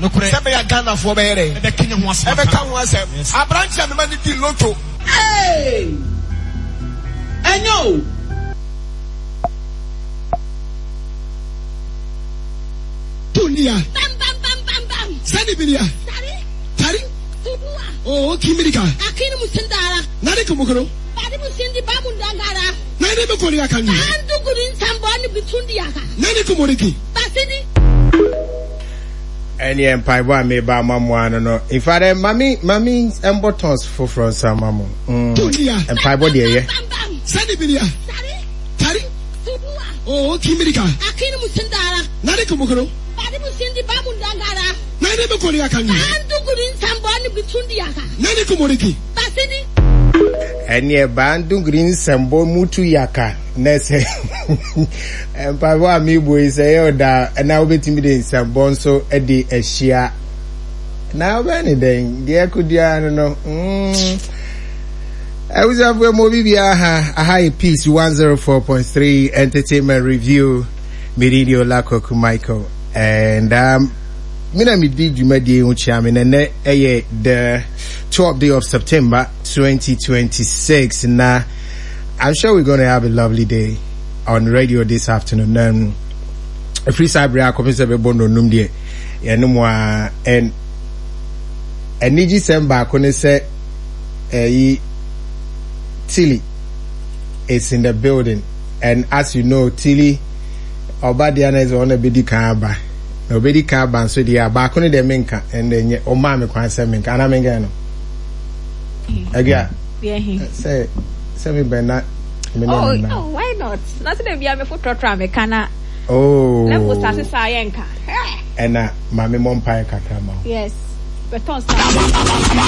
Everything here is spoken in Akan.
Nokorɛ. Sɛ ɛbɛyɛ a Ghanafoɔ bɛyɛ dɛn? Ɛbɛka ho asɛm aka. Ɛbɛka ho asɛm. Yes. Aberanteɛ a mema no di lotto. Hey! Ɛnyɛ o. Dunia. Bam bam bam bam bam. Sani binia. Tari. Tari. Tubuwa. Oh, kimirika. Akini musindara. Nani kumukuro. Bari musindi bamundangara. Nani mukuri akani. Banduguri nsamboni bitundi yaka. Nani kumuriki. Basidi. Ɛneɛ mpaebɔ a meba ama mo ano no in fact eh, mami mami mbɔ tons foforɔ nsa ama mo mm, mpaebɔ deɛ yɛ. Sani binia. Tari. Oh, kimirika. Akini musindara. Nani kumukuro. Bari musindi bamundangara. Nani mukuri akani. Banduguri nsamboni bitundi yaka. Nani kumuriki. Basidi. Ɛneɛ banduguri nsambɔ mutu yaka. Na sɛ mpaebɔ a mebɔ yi sɛ ɛyɛ ɔda na wobɛtumi de nsɛmbɔ nso de ahyia na wobɛyɛ ne dɛn deɛ ɛkɔduaa no no mm. abusuafoɔ mu obi biara ha aha yɛ peace 104.3 entertainment review mede de Ola Kwaku Michael and um, me na medi dwumadie ho kyia me na ɛnɛ ɛyɛ the 12th day of September 2026 na I'm sure we're going to have a lovely day on radio this afternoon. Um, ɛfiri saa berɛ akɔpem sɛ bɛbɔ nnɔnum deɛ yɛne mu a and anigyesɛm baako ne sɛ ɛyi Tilly is in the building and as you know Tilly ɔba deɛ na ɛsɛ ɔna bɛdi kan aba na ɔbɛdi kan aba nso deɛ a baako no deɛ menka ɛnna nyɛ ɔmaa me kwan sɛ menka anaa menka no agua sɛ sɛ me bɛn na me ne oh, no oh, why not na sɛ bia me fo trɔtrɔ a meka na oh na mo start saa yɛ nka ɛna maame mɔ mpaeɛ kakra ma wo yes bɛtɔn saa.